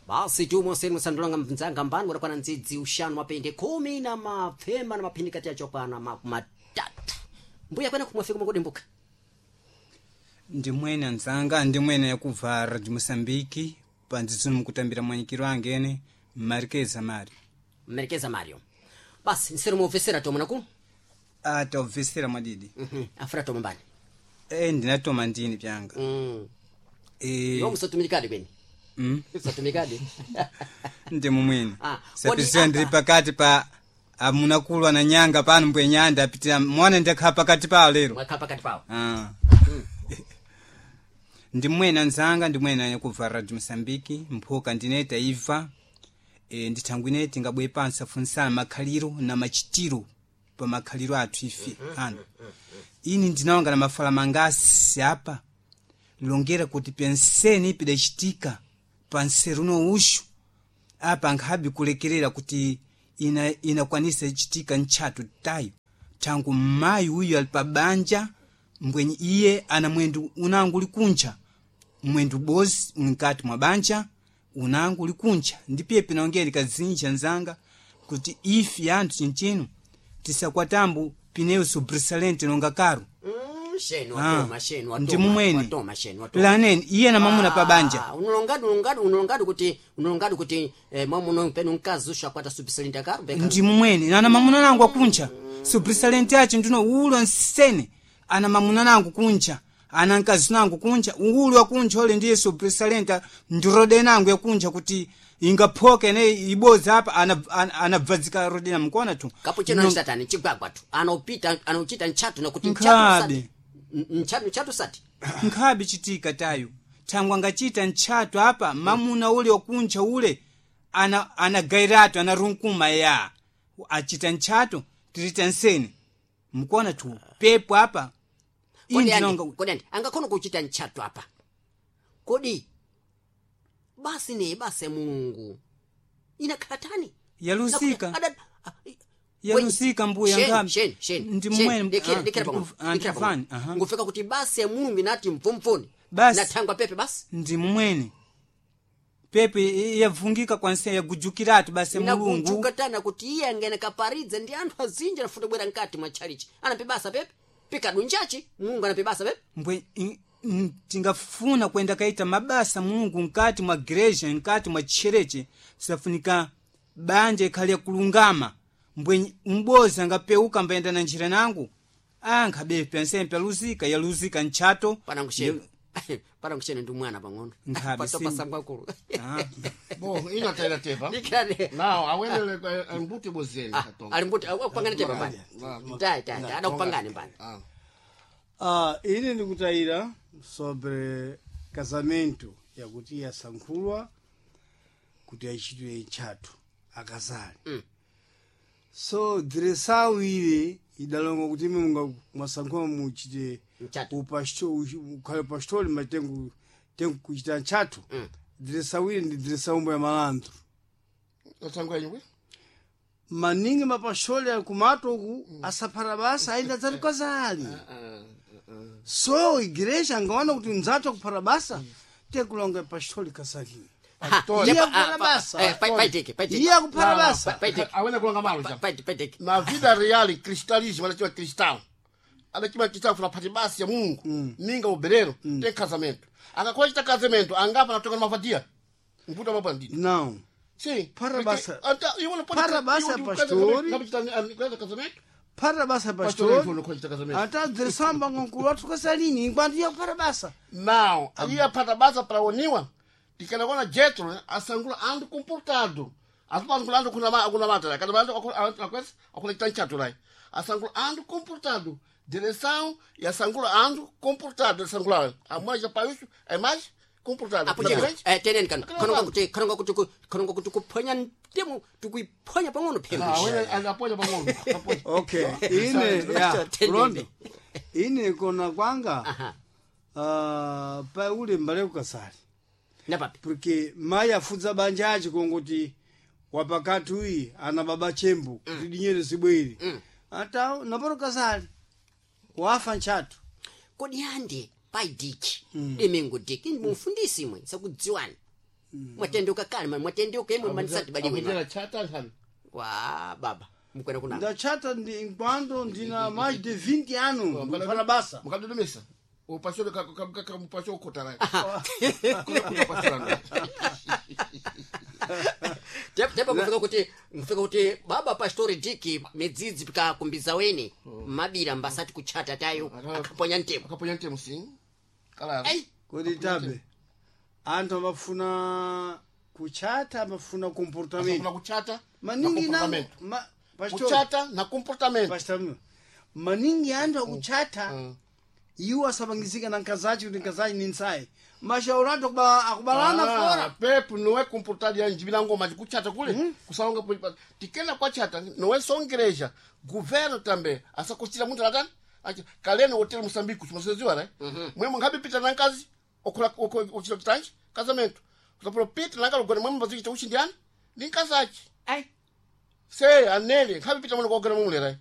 Basi tumo senu musandulanga mnzanga mbani kutakwana ndzidzi ushanu mapende 10 na mapfema na maphindi kati yacho kwana 30. Mbuya kwena kumwafika mukudimbuka. Ndimwene anzanga, ndimwene yakubva Radio Mosambiki pandzitsuni mukutambira mwanyikiro angene Marikeza Mario. Mmerekeza Mario. Basi nseru muofesera tomo naku. Ah, taubvisira mwadidi. Afra tomo mbani. Ndinatoma ndini pyanga. Yo musatumikadi kweni. Musatumikadi. Ndi mumwene. Ah, Sapizira kodi ndiri apa- pakati pa amunakulwa na nyanga pano mbwenyanda apitira mwana ndakhala pakati pawo lero. Mwakhala pakati pawo. Ah. Ndimwene anzanga, ndimwene yakubva Radio Mosambiki mphoka ndineta ibva ndithangwi ineti ngabwe pansi afunsana makhaliro na machitiro pa makhaliro athu ife ano. Ini ndinawanga na mafala mangasi apa longera kuti penseni pidachitika panseru no uxu apa nkhabe kulekerera kuti inakwanisa ichitika ntchato tayo thangu mmayi uyu ali pa banja mbwenye iye ana mwendu unangu uli kuncha mwendu bozi uli nkati mwa banja unangu uli kuncha ndipiye pinongeri kazinja nzanga kuti ife anthu chinchino tisakwatambu pineyo sobresalente longa karo. Shenu Ah, watoma shenu watoma. ndi mumwene. Watoma shenu watoma. Laneni iye na mamuna pa banja. Ah, unulongadi unulongadi unulongadi kuti unulongadi kuti mwamuno penu mkazi ushakwata subisalinda karo beka. Ndi mumwene nana mamuna nangu akuncha sobresalente acho ndino ulo nsene ana mamuna nangu kuncha ana mkazi nangu kuncha ulo akuncha ole ndiye sobresalente ndirode nangu yakuncha kuti ingaphoke ne iboza apa anabvadzika ana rodena mukona tu. Kapuchino no... chigwagwa tu. Anopita anochita nchatu na kuti nchatu Nkhabe. sati. Nchatu nchatu sati. Nkhabe chitika tayo thangwa ngachita ntchato apa mamuna ule wakuncha ule anagairatu anarunkuma ya achita ntchato tirita nsene mukona tu pepo apa. Kodi andi, Indinonga kodi andi angakhono kuchita nchatu apa. Kodi basi ne basi ya Mulungu inakhatani. Yalusika. Yalusika mbuya ngami. ngami. Sheni. Ndi mmwene- Dekera ah, dekera pang'ono. Dekera ndikufani, pang'ono. aha. Ngufika kuti basi ya Mulungu inati mvomvoni. Basi. Nathangwa pepe basi. Ndi mumwene pepe yavungika kwanse yagujukiratu basi ya Mulungu. Inagujuka tana kuti iye angene kaparidze ndi anthu azinji anafuta bwera mkati mwa tchalichi. Anape basa pepe. Pikadunjachi Mulungu anape basa pepe. Mbwe tingafuna kwenda kaita mabasa Mulungu mkati mwa gereja mkati mwa tchereche safunika banja ikhale kulungama mbwe mbozi angapeuka mbayenda na njira nangu ankhabe pensempe yaluzika yaluzika ntchato. Panangusheni. Panangusheni ndi mwana pang'ono. Nkhabe Patopa sim. sangwakulu. Ah. Bom, ina teva. Dikirane. Não, awene mbuti bozeni katonga. Ali mbuti akupangane tepa mbani. Tai tai tai adakupangane mbani. Ah. Ah, ine ndikutayira sobre casamento yakuti yasankhulwa kuti achitwe ntchato akazali. So direção ile idalonga kuti imwe munga mwasankhula muchite Ntchato. ukhale pastori matengu tengu kuchita ntchato. Direção ile ndi direção umbo ya malandro. Sangwa nywe. Maningi mapasholi ali kumato uku asaphata basa ayenda dzati kazali. So igreja angaona kuti mdzathu akuphata basa tekulonga pasholi kasakini. Iye akuphata basa. Paiteke paiteke. Iye akuphata basa. Paiteke. Awene kulonga malo já. Paiteke paiteke. Na vida real, cristalismo, ela tinha cristal. Ela tinha cristal, fala pati basi ya Mungu. Ninga oberero, tem casamento. Anga kwa casamento, angapa na toka numa vadia. Mbuta mabandido. Não. Sim. Para Porque- basa- Anta- eu não pode- Para basa, eu digo, pastor. casamento, casamento? Phata basa Pastor, pastori. não pode casamento. Ata direção bangonkulu athu kasalini enquanto iye akuphata basa. Não, ali a patabasa para oniwa, tikanagona Jetro, né? Asangula ando comportado. Asangula ando kuna kuna mata, cada ando akuna akuna tanchato lá. Asangula ando comportado. Direção e asangula ando comportado, asangula. A mais para isso é mais comportado. Apo cheno. Teneni kano. Akana Kanonga pano. kuti kanonga kuti kanonga kuti kuphonya ntemu tikuiphonya pang'ono phembe. Ah, wena apoia para mundo. Apoia. Okay, ine ya Tendeni. Rondo. Ine kona kwanga Aha. pa ule mbale kukasali. Napapi. Porque mayi afudza banja ache kongoti wapakati uyi ana baba chembo kuti dinyere zibwere. Ata naporo kasali wafa ntchato. Kodi ande paidiki. Demengo diki mufundisi imwe sakudziwani. Mwatendeuka kale mani, mwatendeuka imwe manisati baliwe Akutera chata nthani. Wa baba mukwena kuna. Ndachata ndi enquanto ndina mais de 20 anos ndikufana basa. Mukadodumisa. Upasho ka mupasho ukotara. Kuna pasho ndo. Tepo kufika kuti baba pastori diki midzidzi pikakumbiza weni mabira mbasati kuchata tayo akaponya ntemo. Akaponya ntemo sim. Kala. Ai. Kuti tabe anthu amafuna kuchata, amafuna comportamento. Kuna kuchata. Maningi na na comportamento. pastor, Kuchata na comportamento. pastor, maningi anthu akuchata iwo asapangizika na nkazachi kuti nkazachi ni nsayi mashauri anthu akubalana fora. Pepu nowe comportado ya njibila ngoma kuchata kule kusaonga tikena kwa chata nowe songereja governo tambe asakosira muntu atani achi kaleno hotel Moçambique kusimaseziwa right mwemwe ngabe pita na nkazi okula ochita kitanji casamento kusapolo pita nanga lugona mwemwe bazichita uchindiani ndi nkazachi Ai. se anele ngabe pita mwana kogona mwemwe right.